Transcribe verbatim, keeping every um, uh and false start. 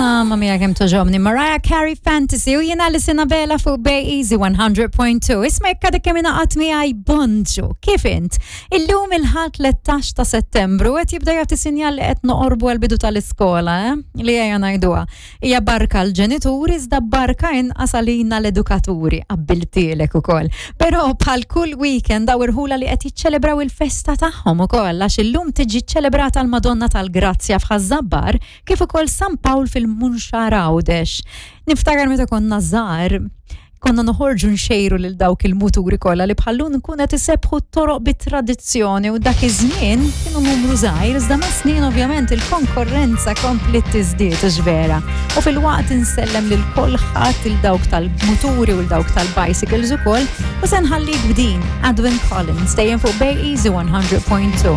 Mamma mia, kemm togħġobni. Mariah Carey, Fantasy, u jiena Alison Abela fuq Bay Easy one hundred point two. Isma', jekk għadek kemm ingħaqadt miegħi, bonġu. Kif int? Illum il-Ħadd tlettax ta' Settembru qed jibda jagħti sinjal li qed noqorbu għal bidu tal-iskola, eh? Li ejja ngħiduha. Hija barka l-ġenituri iżda barka inqas għalina l-edukaturi, qabbiltilek ukoll. Però bħal kull weekend daw irħula li qed jiċċelebraw il-festa tagħhom ukoll, għax illum tiġi ċelebrata l-Madonna tal-Grazzja f'Ħaż-Żabbar kif ukoll San Pawl fil-Munxar Għawdex. Niftakar meta konna żgħar, konna noħorġu nxejru lil dawk il-muturi kollha li bħallum nkun qed isebbħu t-toroq bit-tradizzjoni, u dak iż-żmien kienu numru żgħir, iżda ma' snin ovvjament il-konkurrenza kompliet tiżdied vera. U filwaqt insellem lil kulħadd, il dawk tal-muturi u l dawk tal-bicycles ukoll, u se nħallik b'din Edwyn Collins dejjem fuq Bay Easy one hundred point two.